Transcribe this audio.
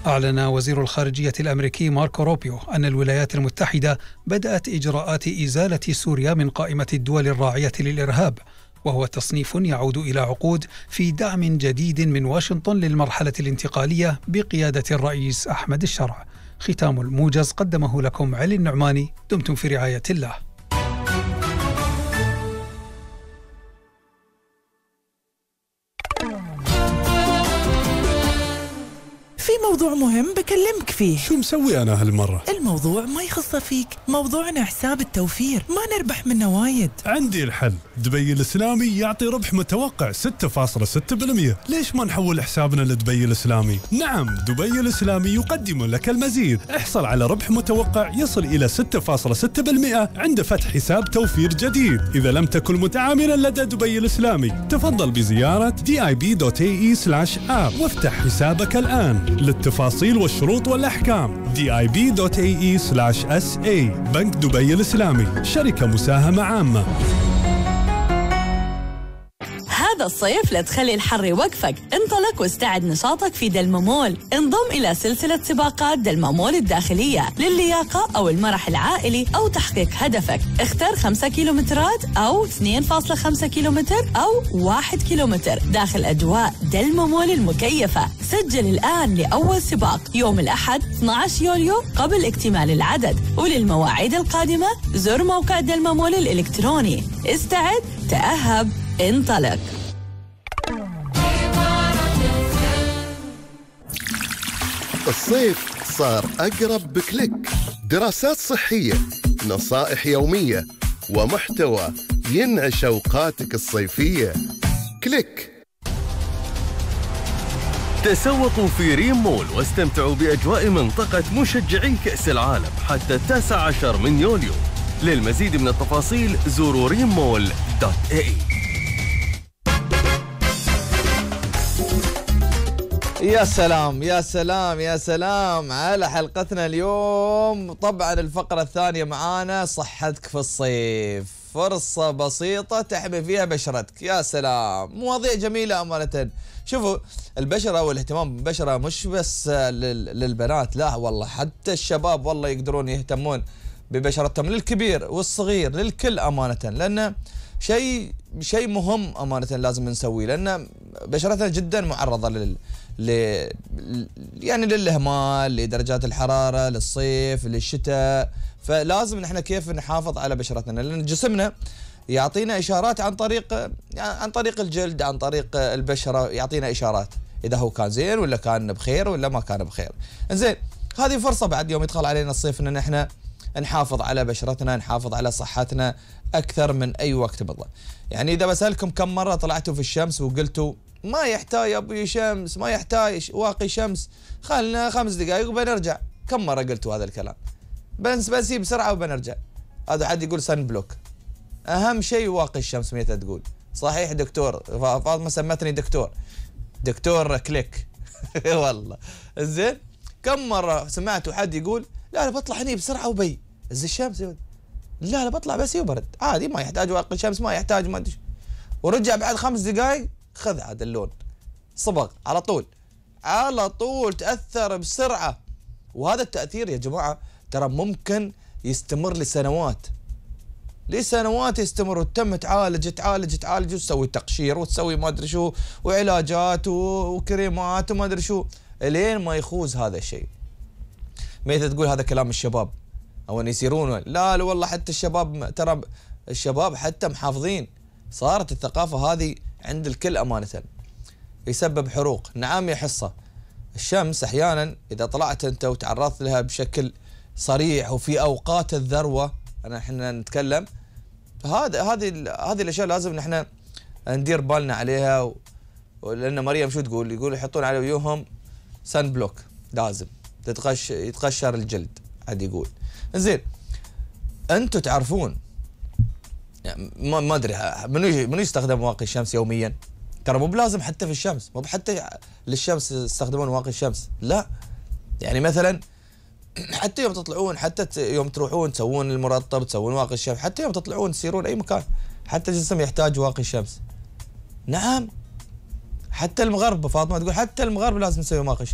أعلن وزير الخارجية الأمريكي ماركو روبيو أن الولايات المتحدة بدأت إجراءات إزالة سوريا من قائمة الدول الراعية للإرهاب، وهو تصنيف يعود إلى عقود في دعم جديد من واشنطن للمرحلة الانتقالية بقيادة الرئيس أحمد الشرع. ختام الموجز قدمه لكم علي النعماني. دمتم في رعاية الله. في موضوع مهم بكلمك فيه. شو مسوي أنا هالمرة؟ الموضوع ما يخص فيك، موضوعنا حساب التوفير، ما نربح منه وايد. عندي الحل، دبي الإسلامي يعطي ربح متوقع 6.6%. ليش ما نحول حسابنا لدبي الإسلامي؟ نعم، دبي الإسلامي يقدم لك المزيد. احصل على ربح متوقع يصل إلى 6.6% عند فتح حساب توفير جديد. إذا لم تكن متعاملا لدى دبي الإسلامي تفضل بزيارة dib.ae/app وافتح حسابك الآن. للتفاصيل والشروط والأحكام dib.ae/sa. بنك دبي الإسلامي، شركة مساهمة عامة. هذا الصيف لا تخلي الحر يوقفك، انطلق واستعد نشاطك في دلممول. انضم إلى سلسلة سباقات دلممول الداخلية للياقة أو المرح العائلي أو تحقيق هدفك. اختر 5 كيلومترات أو 2.5 كيلومتر أو 1 كيلومتر داخل أجواء دلممول المكيفة. سجل الآن لأول سباق يوم الأحد 12 يوليو قبل اكتمال العدد، وللمواعيد القادمة زر موقع دلممول الإلكتروني. استعد، تأهب، انطلق. الصيف صار أقرب بكليك. دراسات صحية، نصائح يومية، ومحتوى ينعش أوقاتك الصيفية. كليك. تسوقوا في ريم مول واستمتعوا بأجواء منطقة مشجعي كأس العالم حتى 19 من يوليو. للمزيد من التفاصيل زوروا rimmall.ae. يا سلام يا سلام يا سلام على حلقتنا اليوم. طبعا الفقرة الثانية معانا صحتك في الصيف، فرصة بسيطة تحمي فيها بشرتك. يا سلام، مواضيع جميلة أمانة. شوفوا، البشرة والاهتمام بالبشرة مش بس للبنات، لا والله حتى الشباب والله يقدرون يهتمون ببشرتهم، للكبير والصغير للكل أمانة، لأن شيء مهم أمانة لازم نسويه، لأن بشرتنا جدا معرضة يعني للإهمال، لدرجات الحرارة، للصيف، للشتاء. فلازم نحن كيف نحافظ على بشرتنا، لأن جسمنا يعطينا إشارات عن طريق الجلد، عن طريق البشرة، يعطينا إشارات إذا هو كان زين ولا كان بخير ولا ما كان بخير. إنزين، هذه فرصة بعد يوم يدخل علينا الصيف إن نحن نحافظ على بشرتنا، نحافظ على صحتنا أكثر من أي وقت بالله. يعني إذا بسألكم كم مرة طلعتوا في الشمس وقلتوا ما يحتاج أبوي شمس، ما يحتاج واقي شمس، خلنا 5 دقائق وبنرجع. كم مرة قلتوا هذا الكلام؟ بنسيب بسرعة وبنرجع. هذا حد يقول سن بلوك، أهم شيء واقي الشمس. متى تقول صحيح دكتور فاطمة سمتني دكتور كليك والله. زين، كم مرة سمعتوا حد يقول لا بطلع هني بسرعة وبي زي الشمس، لا بطلع بس يبرد عادي، ما يحتاج واقي الشمس، ما يحتاج ما أدري، ورجع بعد 5 دقائق خذ هذا اللون صبغ على طول تأثر بسرعة. وهذا التأثير يا جماعة ترى ممكن يستمر لسنوات يستمر، وتم تعالج وتسوي تقشير وتسوي ما ادري شو وعلاجات وكريمات وما ادري شو لين ما يخوز هذا الشيء. متى تقول هذا كلام الشباب او ان يصيرون، لا والله حتى الشباب، ترى الشباب حتى محافظين. صارت الثقافة هذه عند الكل أمانة. يسبب حروق، نعم يا حصة. الشمس احيانا اذا طلعت انت وتعرضت لها بشكل صريح وفي اوقات الذروة، احنا نتكلم، هذه الاشياء لازم نحن ندير بالنا عليها. لان مريم شو تقول؟ يقول يحطون على وجوههم سن بلوك، لازم يتقشر الجلد. عاد يقول زين، انتم تعرفون يعني ما ادري منو يستخدم واقي الشمس يوميا؟ ترى مو بلازم حتى في الشمس، مو حتى للشمس يستخدمون واقي الشمس، لا. يعني مثلا حتى يوم تطلعون، حتى يوم تروحون تسوون المرطب، تسوون واقي الشمس، حتى يوم تطلعون تسيرون اي مكان، حتى الجسم يحتاج واقي الشمس. نعم، حتى المغرب، فاطمه تقول حتى المغرب لازم نسوي واقي الشمس.